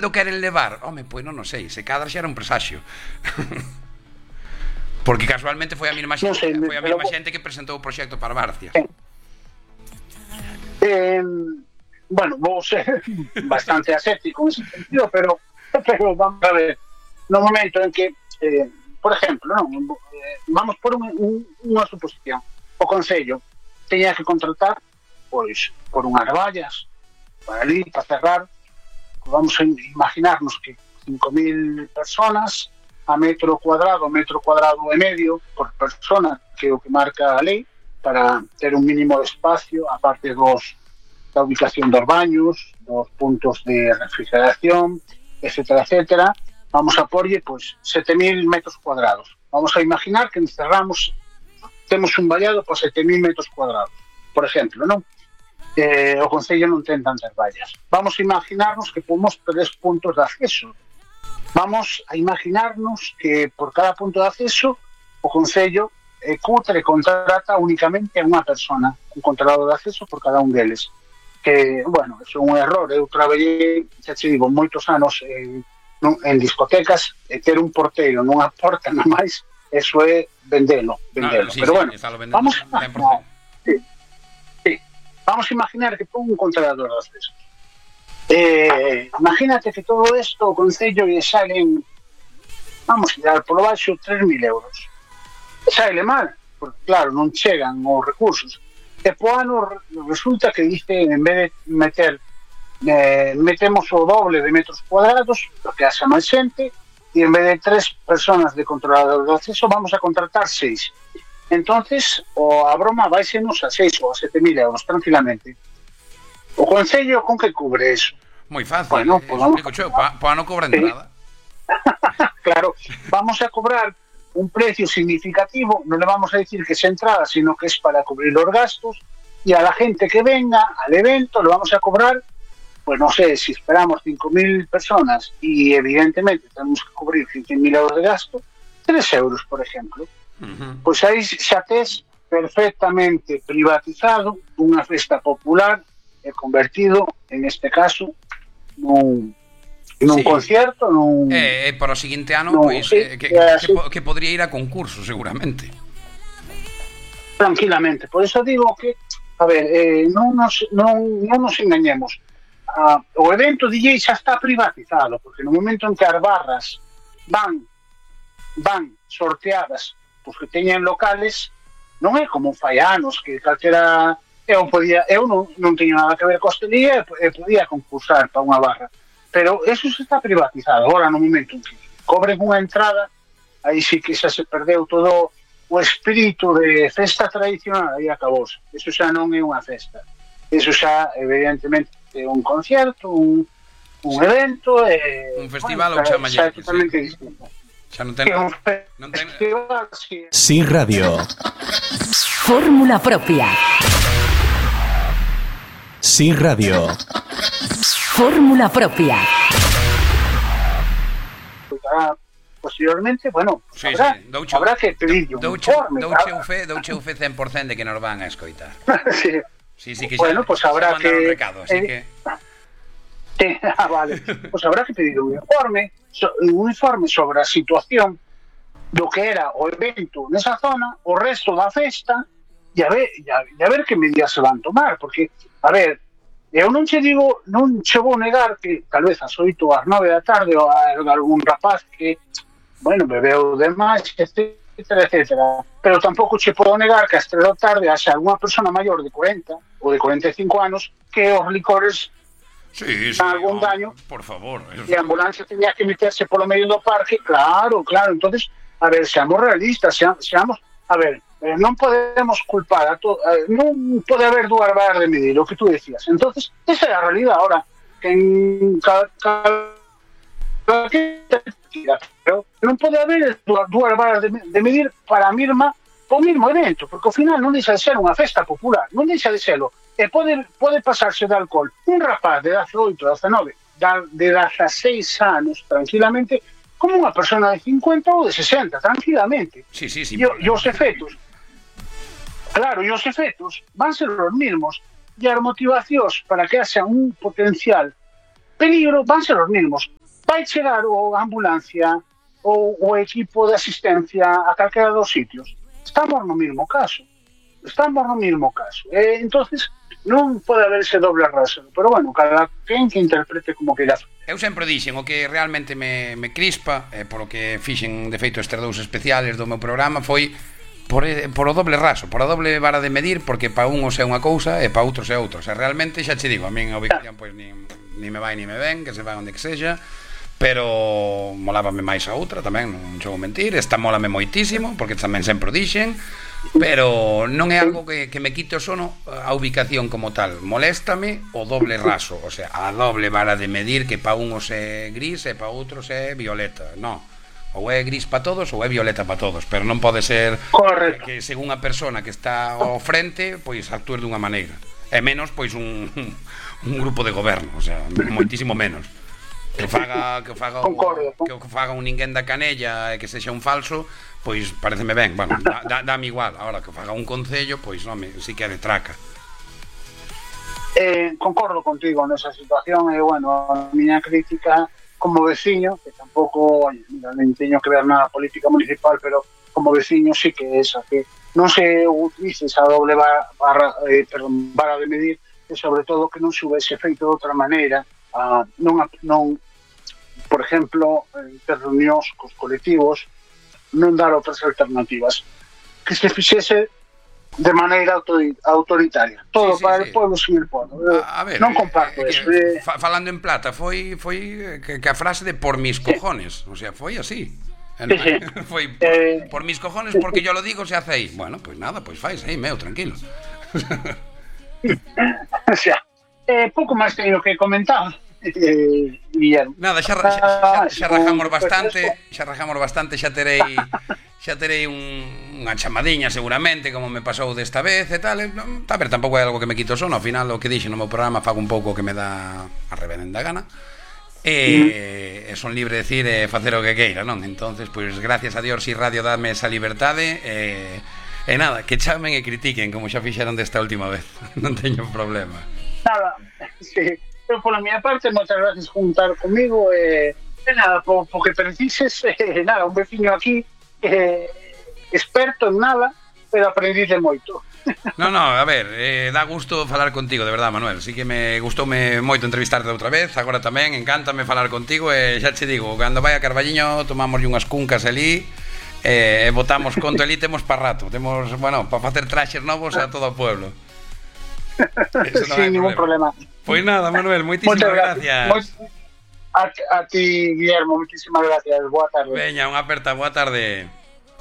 lo queren levar? Home, pois non sei, se cadra xa era un presaxio. Porque casualmente foi a mesma xente que presentou o proxecto para Barcias. Bueno, vou ser bastante aséptico en ese sentido, pero vamos a ver, no momento en que, por exemplo, vamos por unha suposición, o Concello teña que contratar, pois, por unhas vallas, para ali, para cerrar, vamos a imaginarnos que 5.000 personas a metro cuadrado e medio por persona, que é o que marca a lei, para ter un mínimo de espacio, aparte da ubicación dos baños, dos puntos de refrigeración, etcétera, etcétera. Vamos a porlle, pois, 7.000 metros cuadrados. Vamos a imaginar que encerramos, temos un vallado por 7.000 metros cuadrados, por exemplo, non? O Concello non ten tantas vallas. Vamos a imaginarnos que pomos 3 puntos de acceso. Vamos a imaginarnos que por cada punto de acceso o Concello cutre contrata únicamente a unha persona, un controlador de acceso por cada un deles. Que, bueno, é un error. Eu traballei, xa te digo, moitos anos en discotecas, e ter un porteiro nunha porta na máis, eso é vendelo. Sí, pero bueno, vamos a imaginar que pon un controlador de acceso. Imagínate que todo isto o Concello lle salen, vamos a dar polo baixo, 3.000 euros. Sale mal, porque claro, non chegan os recursos. E po ano resulta que dice, en vez de metemos o doble de metros cuadrados, porque haxa máis xente, e en vez de 3 personas de controlador de acceso vamos a contratar 6. Entonces, a broma váisenos a 6 ou a 7.000 euros, tranquilamente. O Concello con que cubre eso? Moi fácil, bueno, explico xo, pa non cobrar nada. Claro, vamos a cobrar un precio significativo, non le vamos a decir que es entrada, sino que es para cubrir los gastos, y a la gente que venga al evento le vamos a cobrar, pues no sé, si esperamos 5.000 personas y evidentemente tenemos que cubrir 15.000 euros de gasto, 3 euros, por ejemplo. Pois aí xa tes perfectamente privatizado unha festa popular e convertido, en este caso, nun concierto, para o seguinte ano, pois, que podría ir a concurso, seguramente. Tranquilamente. Por eso digo que, a ver, non nos engañemos. O evento DJ xa está privatizado, porque no momento en que as barras van sorteadas os que teñen locales, non é como fai anos que calquera eu non teño nada que ver co hostelería e podía concursar para unha barra, pero eso se está privatizado. Agora no momento en que cobren unha entrada, aí sí que xa se perdeu todo o espírito de festa tradicional, aí acabou. Eso xa non é unha festa, eso xa evidentemente é un concierto, un evento, un festival ou xa é totalmente distinto. Xa non ten... Sí Radio. Fórmula propia. Sí Radio. Fórmula propia. Posteriormente, bueno, habrá que pedir un informe. Douche un fe 100% de que nos van a escoitar. Sí, que bueno, pues habrá que... recado, así que... Vale, pues habrá que pedir un informe sobre a situación do que era o evento nesa zona, o resto da festa, e a ver que medidas se van tomar, porque, a ver, eu non che vou negar que tal vez ás 8 ou ás 9 da tarde ou algún rapaz que, bueno, bebeu demais, etcétera, etcétera, pero tampouco che podo negar que ás 3 da tarde haxa alguna persona maior de 40 ou de 45 anos que os licores algún daño, por favor, e a ambulancia tenía que meterse polo medio do parque, claro, entonces, a ver, seamos realistas, seamos, a ver, non podemos culpar a todo, non pode haber dúas varas de medir, o que tú decías. Entonces, esa é a realidad ahora, que en pero non pode haber dúas varas de medir para a mesma o mesmo evento, porque ao final non deixa de ser unha festa popular, non deixa de serlo. E pode pasarse de alcohol un rapaz de 18, 19, de 16 anos, tranquilamente, como unha persona de 50 ou de 60, tranquilamente. Sí. E os efectos, claro, e os efectos van ser os mesmos. E as motivacións para que haxa un potencial peligro van ser os mesmos. Vai chegar a ambulancia ou o equipo de asistencia a calquera dos sitios. Estamos no mesmo caso. Entonces non pode haber ese doble rasero, pero bueno, cada quen que interprete como que irá. Eu sempre dixen, o que realmente me crispa, polo que fixen de feito estes dous especiales do meu programa, foi por o doble raso, por a doble vara de medir, porque para uns é unha cousa e para outros é outra. O sea, realmente xa che digo, a min a ubicación pois ni me vai ni me ven, que se vai onde que sexa, pero molábame máis a outra tamén, non vou mentir, esta mólame moitísimo, porque tamén sempre o dixen, pero non é algo que me quite o sono a ubicación como tal. Moléstame o doble raso, o sea, a doble vara de medir, que para uns é gris e para outros é violeta. Non, ou é gris para todos ou é violeta para todos, pero non pode ser que según a persona que está ao frente pois actúe dunha maneira, e menos pois un grupo de goberno, o sea, moitísimo menos. Que faga un ninguén da canella e que sexa un falso, pois pareceme ben, bueno, dame igual. Agora que faga un concello, pois home, si que é de traca. Concordo contigo nesa situación, e bueno, a miña crítica como veciño, que tampouco, non teño que ver na política municipal, pero como veciño sí que é esa, que non se utilice esa doble vara de medir, e sobre todo que non se houvese feito de outra maneira, non por exemplo, ter reunións cos colectivos, non dar outras alternativas, que se fixese de maneira autoritaria, todo para o pueblo sin el pueblo. Non comparto eso. Falando en plata, foi que a frase de por mis cojones, o sea, foi así. Foi por mis cojones, porque yo lo digo, se hace aí. Bueno, pues nada, pues fais aí, meu, tranquilo. O sea, pouco máis teño que comentar. Nada, xa rajamos bastante, xa terei unha chamadiña seguramente, como me pasou desta vez e tal. A ver, tampouco é algo que me quito sono, ao final o que dixo no meu programa fago un pouco que me dá a reverenda gana, e son libre de decir e facer o que queira, non? Entonces, pois gracias a Dios, si Radio dame esa liberdade, e nada, que chamen e critiquen como xa fixeron desta última vez. Non teño problema. Nada, sí. Pero pola miña parte, moitas gracias por juntar comigo, e nada, porque precises, nada, un veciño aquí experto en nada, pero aprendiz de moito. No, a ver, dá gusto falar contigo, de verdad, Manuel. Sí que me gustoume moito entrevistarte outra vez, agora tamén, encántame falar contigo, e xa che digo, cando vai a Carballiño tomamos unhas cuncas ali, e botamos conto ali, temos para rato, temos, bueno, para facer traxes novos a todo o pueblo. Sin ningún problema. Pois nada, Manuel, moitísimas gracias. A ti, Guillermo, moitísimas gracias. Boa tarde. Veña, unha aperta, boa tarde.